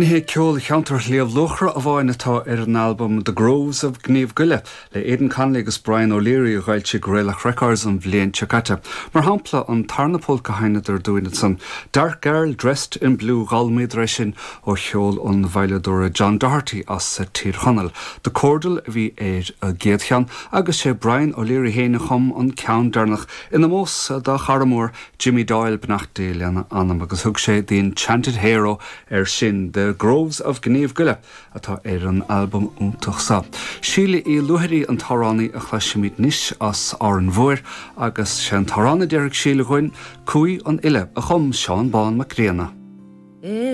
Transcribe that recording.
Ní hé ceol cheantar Shliabh Luachra amháin atá ar an albam The Groves of Gneeveguilla le Aidan Connolly agus Brian O'Leary a dh'fhoilsigh Raelach Records an bhliain seo caite. Mar shampla, an tarna polca a sheinneadar dúinn ansan, Dark Girl Dressed in Blue, dh'fhoghlaimíodar é sin ó cheol an veidhleadóra John Doherty as Tír Chonaill. The Cordal a bhí ar an gcéad cheann agus sé Brian O'Leary féin a chum an ceann deireanach in ómós dá chara mór Jimmy Doyle, beannacht Dé lena anam, agus thug sé The Enchanted Hero air sin. The Groves of Gneeveguilla atá ar an albam iontach seo. Síle Uí Luaithrí an t-amhránaí a chloisfimid anois as Árainn Mhóir agus sé an t-amhrán a déarfaidh Síle dhúinn, Cumhaidh an Fhile, a chum Seán Bán Mac Grianna.